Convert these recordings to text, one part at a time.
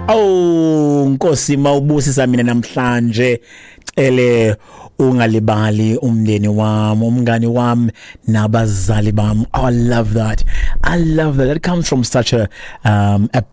Oh Nkosi, mawubusisa mina namhlanje, cele ungalibali umndeni wami, umngani wami nabazali bami. Oh, I love that. I love that. That comes from such a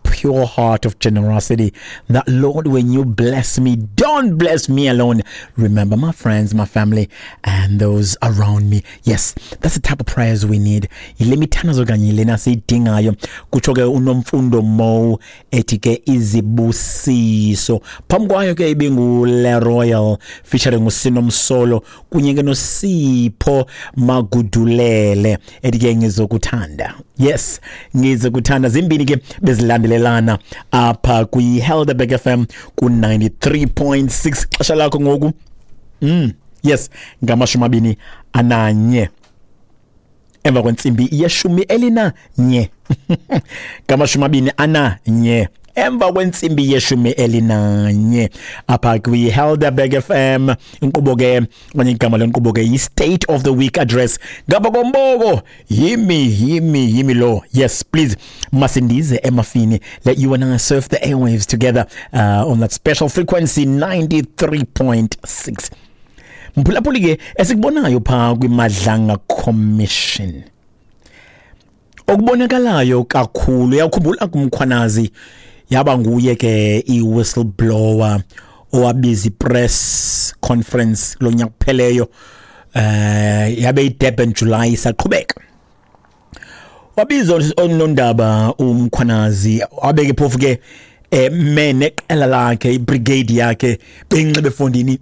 pure heart of generosity, that Lord, when you bless me, don't bless me alone. Remember my friends, my family and those around me. Yes, that's the type of prayers we need. Yile mithandazo kanye lena siyidingayo, kutsho ke uNomfundo Mo ethi ke izibusiso. Phambi kwayo ke ibingu-Le Royal featuring uSinomsolo kunye ke noSipho Magudulele ethi ke Ngizokuthanda. Yes, Ngizokuthanda. Zimbini ke bezilandelelana apha kwi-Helderberg FM ku-93.6. Xesha lakho ngoku, yes, 21 emva kwentsimbi ye-11, 21 emva kwentsimbi ye-11 apha kwi-Helderberg FM. Inkqubo ke okanye igama lenkqubo ke yi-State of the Week Address. Ngapha komboko yimi, yimi, yimi lo. Yes, please, masindize emafini. Let you and I surf the airwaves together on that special frequency 93.6. Mphulaphuli ke, esikubonayo phaa kwiMadlanga Commission, okubonakalayo kakhulu, uyakhumbula kuMkhwanazi yaba nguye ke i-whistleblower owabiza i-press conference lo nyaka kupheleyo, yabe iDurban July isaqhubeka. Wabiza onondaba uMkhwanazi, wabeke phofu ke me neqela lakhe, ibrigade yakhe, benxibe efondini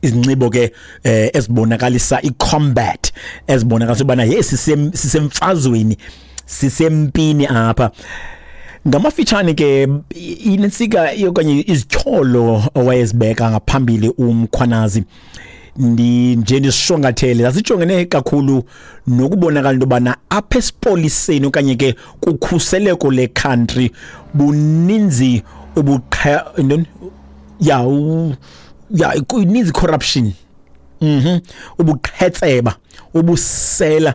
izinxibo ke ezibonakalisa i-combat, ezibonakalisa ubana hey, sisemfazweni, sisempini apha. Ngamafitshane ke, inensika okanye izityholo owayezibeka ngaphambili uMkhwanazi, ndi nje ndisishwankathele, zasijongene kakhulu nokubonakala into yobana apha esipoliseni okanye ke kukhuseleko le-country buninzi ubuqhe ntoni ya ya ininzi corruption, ubuqhetseba, ubusela,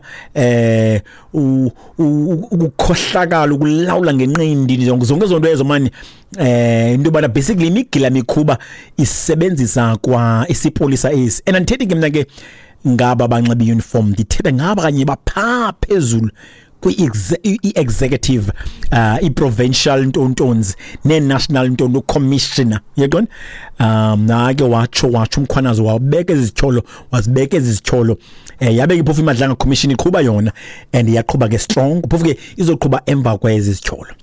ukukhohlakala, ukulawula ngenqindi, zonke zonto ezo mani, into yobana basically imigila mikhuba isebenzisa kwa isipolisa esi. And andithethi ke mna ke ngaba banxiba i-uniform, ndithetha ngaba kanye baphaa phezulu kwi-executive, i-provincial ntontons nee-national ntonto, commissioner, uyaqonda? Nake watsho uMkhwanazi, wabeka ezizityholo, wazibeka ezizityholo. Yabe ke phofu iMadlanga Commission iqhuba yona and iyaqhuba ke strong, phofu ke izoqhuba emva kwezi zityholo.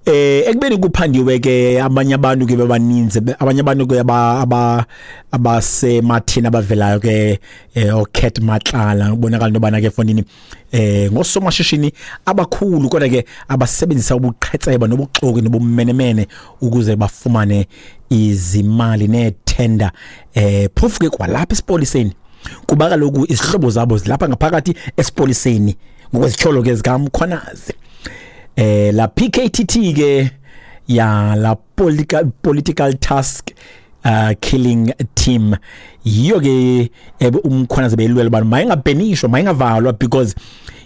Ekubeni kuphandiwe ke, abanye abantu ke bebaninzi, abanye abantu ke aba abasemathini abavelayo ke, oCat Matlala, ubonakala into yobana ke fondini ngosomashishini abakhulu, kodwa ke abasebenzisa ubuqhetseba nobuxoki nobumenemene ukuze bafumane izimali neethenda, phofu ke kwalapha esipoliseni, kuba kaloku izihlobo zabo zilapha ngaphakathi esipoliseni, ngokwezityholo ke zikaMkhwanazi. La PKTT ke ya la political task killing team, yiyo ke uMkhwanazi beyilwela uba mayingabhenishwa, mayingavalwa, because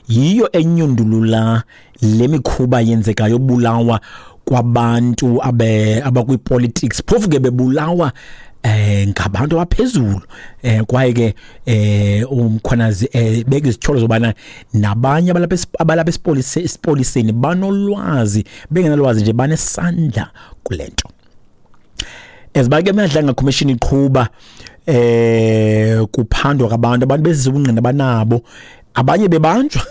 yiyo enyundulula le mikhuba yenzekayo yobulawa kwabantu abe abakwi-politics, phofu ke bebulawa ngabantu abaphezulu. Kwaye ke uMkhwanazi beka izityholo zobana nabanye abalapha esipoliseni banolwazi, bengenalwazi nje, banesandla kule nto. Eziba ke Madlanga Commission iqhuba, kuphandwa kwabantu, abantu bezisa ubungqina banabo, abanye bebanjwa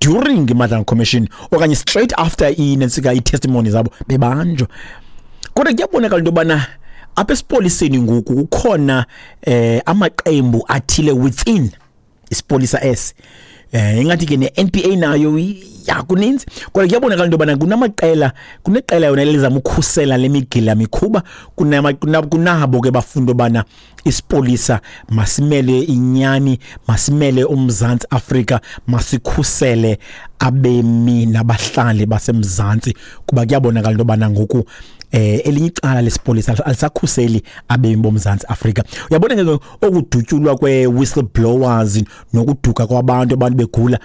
during iMadlanga Commission okanye straight after inensika i-testimony zabo bebanjwa. Kodwa kuyabonakala into yobana apha esipoliseni ngoku kukhona amaqembu athile within isipolisa esi. Ingathi ke ne-NPA nayo ya kuninzi, kodwa kuyabonakala into yobana kunamaqela, kuneqela yona elizama ukhusela le migila mikhuba, kunabo ke bafunda ubana isipolisa masimele inyani, masimele uMzantsi Afrika, masikhusele abemi nabahlali baseMzantsi, kuba kuyabonakala into yobana ngoku elinye icala lesipolisa alisakhuseli abemi boMzantsi Afrika. Uyabona ke okudutyulwa kwe-whistleblowers nokuduka kwabantu, abantu begula,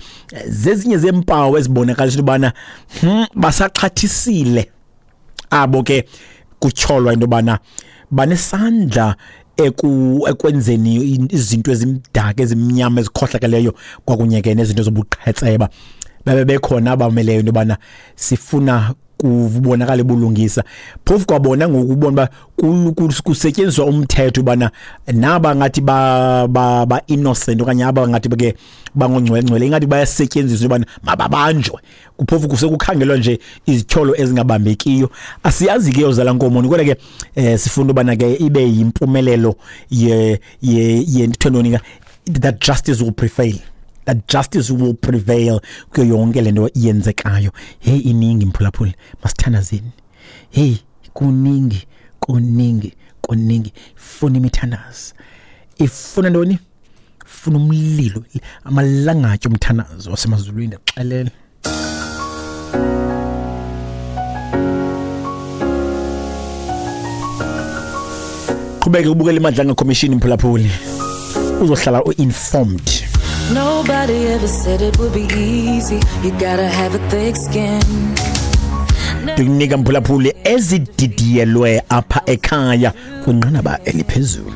zezinye zeempawu ezibonakalisa into yobana basaxhathisile. Abo ke kutyholwa into yobana banesandla ekwenzeni izinto ezimdaka, ezimnyama, ezikhohlakeleyo kwakunye ke nezinto zobuqhetseba. Babe bekhona abameleyo into yobana sifuna kubonakala ubulungisa. Phofu kwabona ngoku ubona uba kusetyenziswa umthetho ubana naba ngathi ba innocent okanye aba ngathi ke bangongcwele ingathi bayasetyenziswa ubana mababanjwe. Kuphofu kusekukhangelwa nje izityholo ezingabambekiyo. Asiyazi ke yozala nkomo, kodwa ke sifuna ubana ke ibe yimpumelelo ye ye ye that justice will prevail. That justice will prevail kuyo yonke le nto yenzekayo. Hey, iningi mphulaphuli, masithandazeni. Hey, kuningi, kuningi, kuningi. Funa imithandazo. Ifuna ntoni? Funa umlilo, amalangatye omthandazo wasemazulwini, xelele. Qhubeke ubukele iMadlanga Commission, mphulaphuli. Uzohlala u-informed. Nobody ever said it would be easy. You gotta have a thick skin. Ndikunika mphulaphuli ezididiyelwe apha ekhaya kwinqanaba eliphezulu.